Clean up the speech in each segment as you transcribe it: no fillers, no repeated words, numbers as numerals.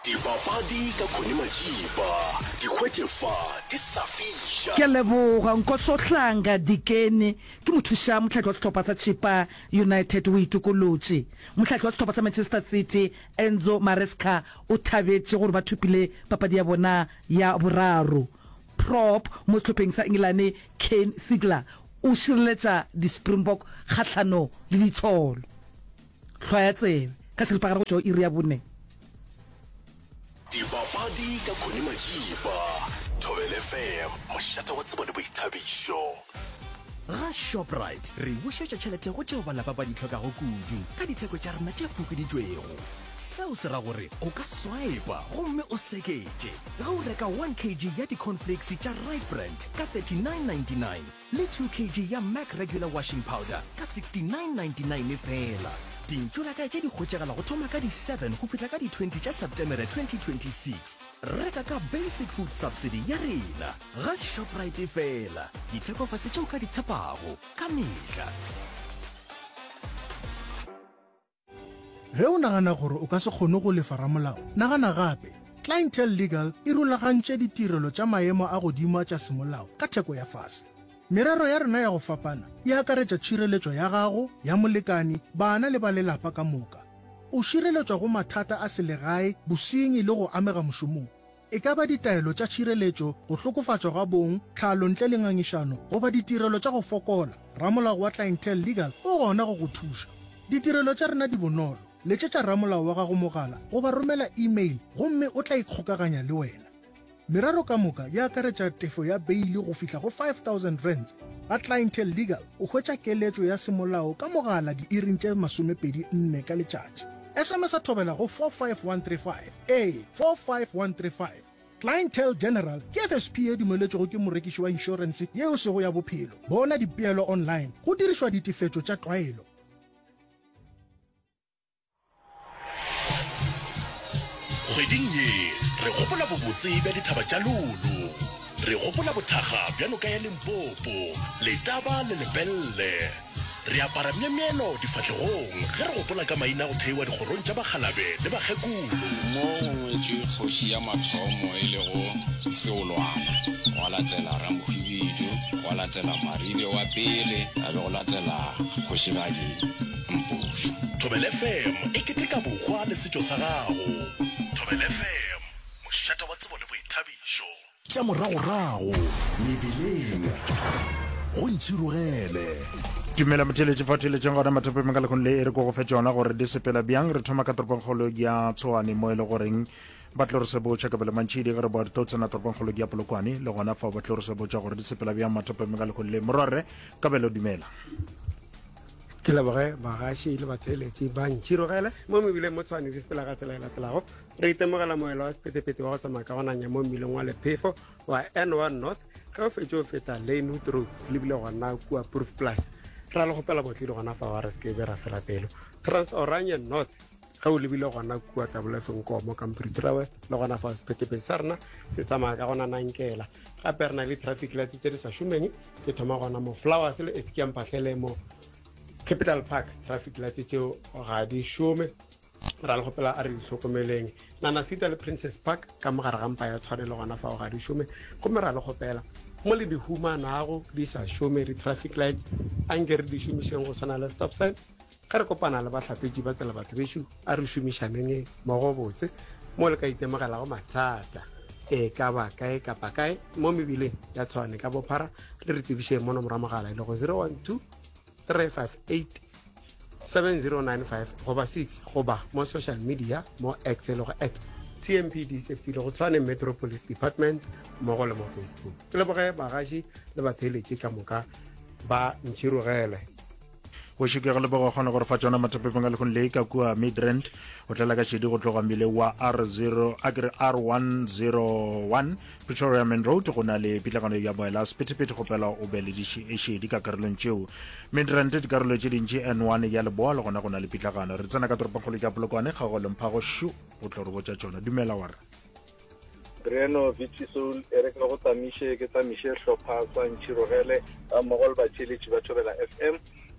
Dipapadi ka Connie Majiba, di hwetše fa di sa fiša. Ke a leboga. Nkosohlanga Dikeni ke mothuša mohlahli wa sehlopha sa Chippa United o itokolotše. Mohlahli wa sehlopha sa Manchester City Enzo Maresca o thabetše gore ba thopile papadi ya bona ya boraro. Prop mo sehlopheng sa Engelane Kane Sigler o šireletša di-Springbok kgahlano le ditsholo. Hlwaya tsebe ka seripagare go tšwa go iri ya bone. Dipapadi ka Connie Majiba, Thobela FM, mošate wa tsebo le boithabišo. Ga Shoprite re bušetša tšhelete go tšeo ba lapa ba di hlokago kudu ka ditheko tša rena tše fokoditšwego. Seo se ra gore o ka swipa gomme o seketše ge o reka 1 kg ya di-cornflakes tša Rite Brand ka 39.99 le 2 kg ya Mac Regular Washing Powder ka 69.99 feela. Dintšolakae tše di hwetšagala go thoma ka di 7 go fihla ka di 20 tša Septemere 2026. Reka ka Basic Food Subsidy ya rena ga Shoprite feela. Dithekofase tše o ka di tshepago ka mehla. Ge o nagana gore o ka se kgone go lefa ramolao, nagana gape. Clientele Legal e rulagantše ditirelo tša maemo a godimo a tša semolao ka theko ya fase. Merero ya rena ya go fapana e akaretša tšhireletšo ya gago, ya molekani, bana le ba lelapa ka moka. O šireletšwa go mathata a selegae, bosenyi le go amega mošomong. E ka ba ditaelo tša tšhireletšo, go hlokofatšwa ga bong, tlhalo ntle le ngangišano, goba ditirelo tša go fokola, ramolao wa Clientele Legal o gona go go thuša. Ditirelo tša rena di bonolo, letšetša ramolao wa gago mogala goba romela e-mail gomme o tla ikgokaganya le wena. Merero ka moka e akaretša tefo ya beili go fihla go R5000. Ga Clientele Legal o hwetša keletšo ya semolao ka mogala diiring tše 24 ka letšatši. SMS-a thobela go 45135. Ee, 45135. Clientele General ke FSP ye dumeletšwego ke morekiši wa inšorense ye e sego ya bophelo. Bona dipeelo online go dirišwa ditefetšo tša tlwaelo. Kgweding ye re gopola bobotse bja dithaba tša Lulu. Re gopola bothakga bja noka ya Limpopo, Letaba le Lepelle. Re apara myemyelo difahlegong ge re gopola ka maina a go theiwa dikgorong tša bakgalabe le bakgekolo. Mo go ngwetšwe kgoši ya mathomo e lego Seolwana, gwa latela Ramohwibidu, gwa latela Maribe wa pele, ga be go latela Kgošigadi Mpošo. Thobela FM e keteka bohwa le setšo sa gago. Thobela FM, mošate wa tsebo le boithabišo. Tša moragorago mebileng go ntšhirogele. Dumela motheeletši fa theeletšeng gona mathopeng ka lekgong le e re ko go fe tšona gore di sepela bjang. Re thoma ka toropongkgolo ya Tshwane mo e le goreng ba tlo re sebotša Kabelo Mantšhidi ge re boa re tlo tsena toropongkgolo ya Polokwane le gona fa ba tlo re sebotša gore di sepela bjang mathopeng ka lekgong le. Morwarre Kabelo dumela. Ke leboge bagaši le batheeletši ba ntšhirogele mo mebileng mo Tshwane di sepela ka tsela e latelago. Re itemogela moelo wa sephethephethe wa go tsamaya ka go nanya mo mmileng wa lephefo wa N1 North ge o fetše o feta Lanewood Road lebile gona kua Proof Plus. Ra le kgopela botlile gona fa wa re se ke be ra fela pelo. Trans Oranje North ge o lebile gona kua Kabolefeng Nkomo ka Pretoria West le gona fa sephethephethe sa rena se tsamaya ka go nanankela. Gape re na le traffic lights tse di sa šomeng ke thoma gona mo Flowers le Eskia Mphahlele mo Capital Park traffic lights tseo ga di šome. Ra le kgopela a re di hlokomeleng. Nanasita le Princess Park ka mo gare ga mpa ya Tshwane le gona fao ga di šome, gomme ra le kgopela mo le di humanago di sa šome di-traffic lights a nke re di šomišeng go swana le stop sign. Ge re kopana le bahlapetši ba tsela batho bešo a re šomišaneng mmogo botse mo le ka itemogelago mathata e ka ba kae kapa kae mo mebileng ya Tshwane ka bophara le re tsebišeng mo nomoro ya mogala e lego 012 358 7095 goba 6 goba mo social media mo X e lego at TMPD Safety le go Tshwane Metro Police Department mmogo le mo Facebook. Ke leboge bagaši le batheeletši ka moka ba ntšhirogele. Go šikega le bogo kgona gore fa tšona mathapepeng a lekgong le ka kua Midrand o tlela ka šedi go tloga mmile wa R0 a kere R101 Pretoria Main Road go na le pitlagano ya moela sephethephethe kgopela o be le dišedi ka karolong tšeo Midrand dikarolo tše dintši N1 ya leboa le gona go na le pitlagano re tsena ka toropongkgolo ya Polokwane kgago le mphago šu o tlo re botša tšona dumela wa re Breno Vichy Soul e re ke go tsamiše ke tsamiše hlopha sa Ntšhirogele ga mmogo le batheeletši ba Thobela FM.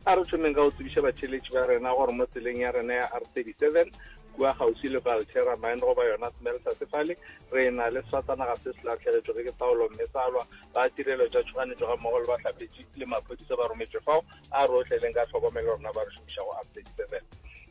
A re thomeng ka go tsebiša batheeletši ba rena gore mo tseleng ya rena ya R37. Kua kgauswi le Valterra Mine goba yona smelter se fale, re na le sefatanaga se se lahlegetšwego ke taolo mme sa lwa. Ba tirelo tša tšhoganetšo gammogo le bahlapetši le maphodisa ba rometšwe fao a re otleleng ka tlhokomelo rena ba re šomišago R37.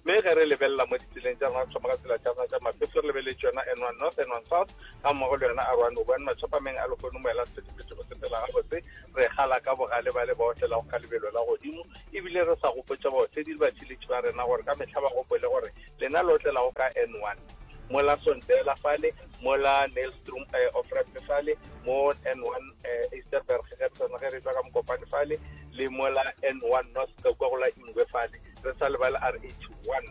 Mme ge re lebelela mo ditseleng tša rena, re thoma ka tsela tša rena tša mafefo, re lebeletše yona N1 North, N1 South gammogo le yona R101. Mathapameng a lehono moela sephethephethe o sepela gabotse, re kgala ka bogale ba le ba otlelago ka lebelo la godimo, ebile re sa gopotša baotledi le batšhiletši ba rena gore ka mehla ba gopole gore lena le otlelago ka N1 mola Sondela fale, mola Nylstroom eh, off-ramp fale, mo N1 eh, Ysterberg ge re tsena ge re tšwa ka Mokopane fale, le mola N1 North ka kua go la Ingwe fale, re sa lebale R81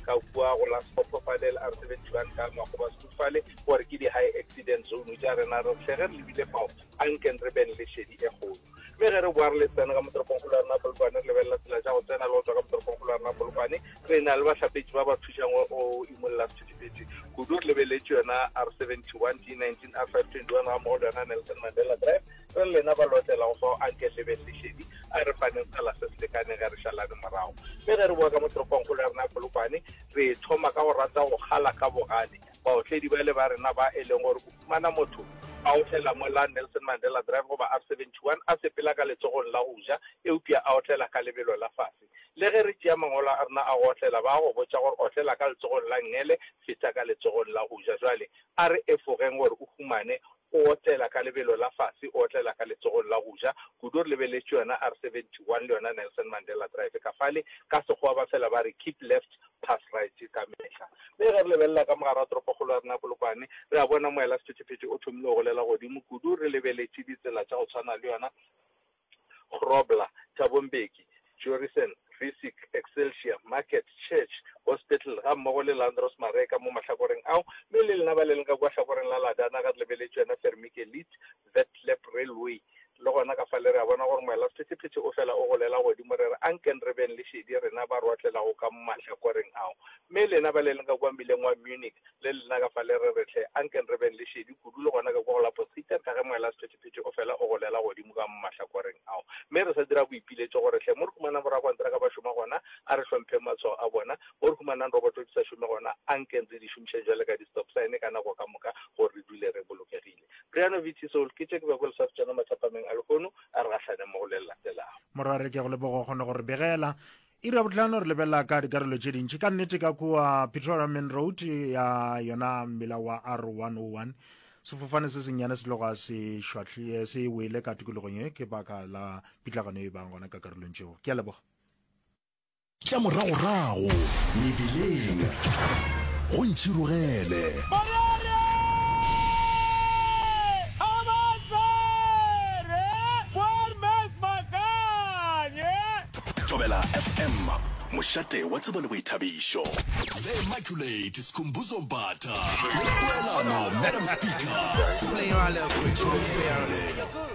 ka kua go la Skopho fale le R71 ka Makgoba School fale, gore ke di-high accident zone tša rena, re hle ge re lebile fao anken re beng le šedi e kgolo. Mme ge re boa re le tsena ka mo toropongkgolo ya rena Polokwane, re lebelela tsela tša go tsena le go tšwa ka mo toropongkgolo ya rena Polokwane, re na le bahlapetši ba ba thušang go imolla sephethephethe kudu. Re lebeletše yona R71, D19, R521 gammogo le yona Nelson Mandela Drive. Re le lena ba lotlelago fao, anke le beng le šedi, a re faneng tsela se se lekaneng ge re šalane morago. Mme ge re boa ka mo toropongkgolo ya rena Polokwane, re thoma ka go rata go kgala ka bogale Baotledi bale ba rena ba e leng gore o fumana motho a otlela mo la Nelson Mandela Drive goba R71 a sepela ka letsogong la go ja eupša a otlela ka lebelo la fase. Le ge re tšea mangwalo a rena a go otlela ba a go botša gore otlela ka letsogong la nngele, feta ka letsogong la go ja. Jwale a re efogeng gore o humane o otlela ka lebelo la fase o otlela ka letsogong la go ja kudu. Re lebeletše yona R71 le yona Nelson Mandela Drive ka fale. Ka Sekgowa ba fela ba re keep left pass right ka mehla. Mme ge re lebelela ka mogare wa toropokgolo ya rena Polokwane, re a bona moela sephethephethe o thomile go golela godimo kudu re lebeletše ditsela tša go tshwana le yona Grobler, Thabo Mbeki, Jorissen, Rissik, Excelsior, Market, Church, Hospital gammogo le Landros Mareka mo mahlakoreng ao. Mme le lena ba le leng ka kua hlakoreng la Ladana ge re lebeletše yona Vermikelite, Vetlep Railway, Le gona ka fale re a bona gore moelasephethephethe o fela o golela godimo, re re, Anken re beng le šedi, rena ba rotlelago ka mahlakoreng ao. Mme lena ba le leng ka kua mmileng wa Munich, le lena ka fale re re, Hle, anken re beng le šedi kudu, le gona ka kua go la Potgieter, ka ge moelasephethephethe o fela o golela godimo ka mahlakoreng ao. Mme re sa dira boipiletšo gore, hle, mo re humanang borakontraka ba šoma gona, a re hlompheng matshwao a bona. Mo re humanang roboto di sa šome gona, anken re di šomišeng bjale ka di-stop sign ka nako ka moka gore re dule re bolokegile. Briano VT Soul, ke tše ke bego le sa tšona mathapameng a lehono, a re gahlaneng mo go le le latelago. Morware, ke a go leboga o kgone go re begela. Iri ya bohlano re lebelela ka dikarolo tše dintši ka nnete ka kua Pretoria Main Road ya yona mmila wa R101 sefofane se sennyane se tloga se šwahlie se wele ka tikologong ye ke baka la pitlagano e bang gona ka karolong tšeo. Ke a leboga. Tša moragorago mebileng go ntšhirogele. Thobela FM, mošate wa tsebo le boithabišo. The Immaculate Skhumbuzo Mbatha le Poelano Madam Speaker. Go ntšhirogele.